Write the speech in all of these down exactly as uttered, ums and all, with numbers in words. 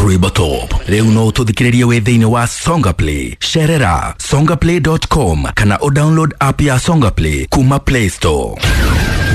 Rwĩmbo Top. Rĩu no ũtũthikĩrĩrie wĩ thĩinĩ wa Songa Play. Cerera songaplay dot com kana o download app ya Songa Play kuma Play Store.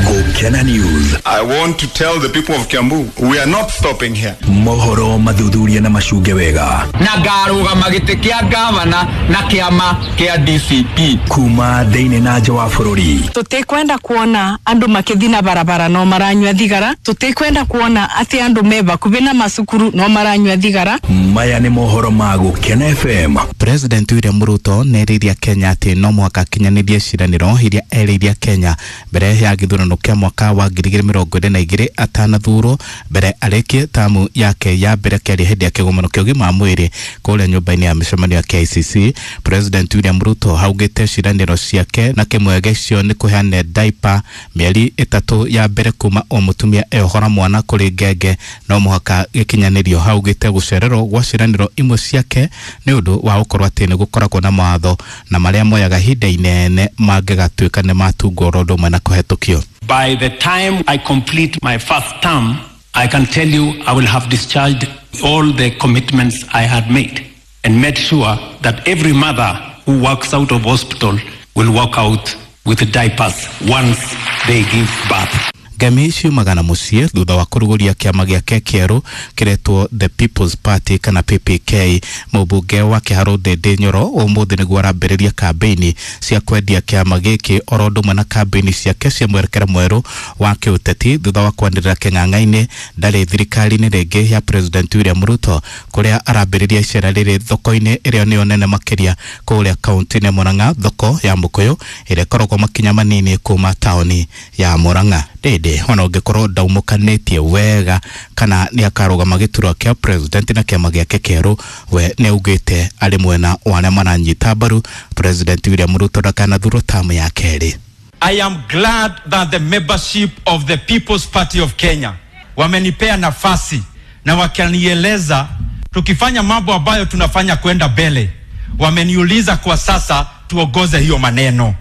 Gũkena News. I want to tell the people of Kiambu, we are not stopping here. Mohoro mathuthuria na macunge wega. Na ngarũgama gĩtĩ kĩa gavana na kĩama kĩa D C P. Kuma thĩinĩ na nja wa bũrũri. Tutikwenda kuona andu makithi na barabara no maranyua thigara. Tutikwenda kuona ati andu me bakubi na macukuru no maranyua thigara. Maya nĩ mohoro ma Gũkena F M. President William Ruto nĩ Kenya atĩ no mũhaka akinyanĩrie ciĩranĩro iria erĩire Kenya mbere ya gĩthurano kĩa mwaka wa ngiri igĩrĩ mĩrongo ĩrĩ na igĩrĩ atanathurwo mbere arĩkie tamu yake ya mbere. Kĩaria hĩndĩ ya kĩgomano kĩa ũgima wa mwĩrĩ kũrĩa nyũmba-inĩ ya mĩcemanio ya K I C C, President William Ruto augĩte ciĩranĩro ciake na kĩmwe gĩcio nĩ kũheana diaper mĩeri ĩtatũ ya mbere kuma o mũtumia eohora mwana kũrĩ ngenge no mũhaka gĩkinyanĩrio. Augĩte gũcererwo gwa ciĩranĩro imwe ciake nĩ ũndũ wa gũkorwo atĩ nĩ gũkoragwo na mawatho na marĩa moyaga ihinda inene mangĩgatuĩka nĩ matungwo oro ũndũ ũmwe na kũhetũkio. By the time I complete my first term, I can tell you I will have discharged all the commitments I had made and made sure that every mother who works out of hospital will walk out with diapers once they give birth. Ngemi ciumaga na mũciĩ thutha wa kũrugũria kĩama gĩake kĩerũ kĩretwo The People's Party kana P P K. Mũmbunge wa Kĩharũ Ndĩndĩ Nyoro ũmũthĩ nĩguo arambĩrĩria kambĩini cia kwendia kĩama gĩkĩ oro ũndũ ũmwe na kambĩini ciake cia mwerekera mwerũ wa kĩũteti thutha wa kwanĩrĩra kĩng'ang'a-inĩ ndarĩ thirikari-inĩ rĩngĩ ya President William Ruto, kũrĩa arambĩrĩria icera rĩrĩ thoko-inĩ ĩrĩa nĩyo nene makĩria kũrĩa kaunti-inĩ ya Murang'a, thoko ya Mũkũyũ ĩrĩa ĩkoragwo makinya manini kuma taũni ya Murang'a. Ndĩndĩ ona ũngĩkorwo ndaumũkanĩtie wega kana nĩ akarũgama gĩturwa kĩa president na kĩama gĩake kĩerũ, we nĩ augĩte arĩ mwena wa arĩa maranyita mbaru President William Ruto ndakanathurwo tamu ya kerĩ. I am glad that the membership of the People's Party of Kenya wamenipea nafasi na wakanieleza tukifanya mambo ambayo tunafanya kwenda mbele, wameniuliza kwa sasa tuongoze hiyo maneno.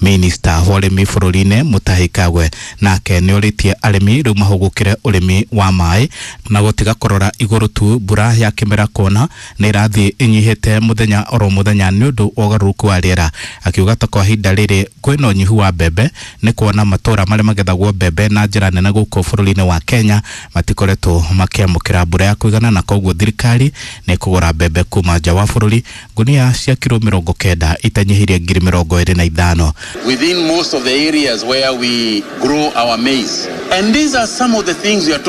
Minista wa ũrĩmi bũrũri-inĩ Mutahi Kagwe nake nĩ orĩtie arĩmi rĩu mahũgũkĩre ũrĩmi wa maĩ na gũtiga kũrora igũrũ tu mbura ya kĩmera, kuona nĩ ĩrathiĩ ĩnyihĩte mũthenya oro mũthenya nĩ ũndũ wa ũgarũrũku wa rĩera, akiuga ta kwa ihinda rĩrĩ kwĩna ũnyihu wa mbembe nĩ kuona matũra marĩa magethagwo mbembe na njĩra nene gũkũ bũrũri-inĩ wa Kenya matikoretwo makĩamũkĩra mbura ya kũigana, na koguo thirikari nĩ ĩkũgũra mbembe kuma nja wa bũrũri ngunia cia kiro mĩrongo kenda itanyihĩrie ngiri mĩrongo ĩrĩ na ithano. Within most of the areas where we grow our maize. And these are some of the things we are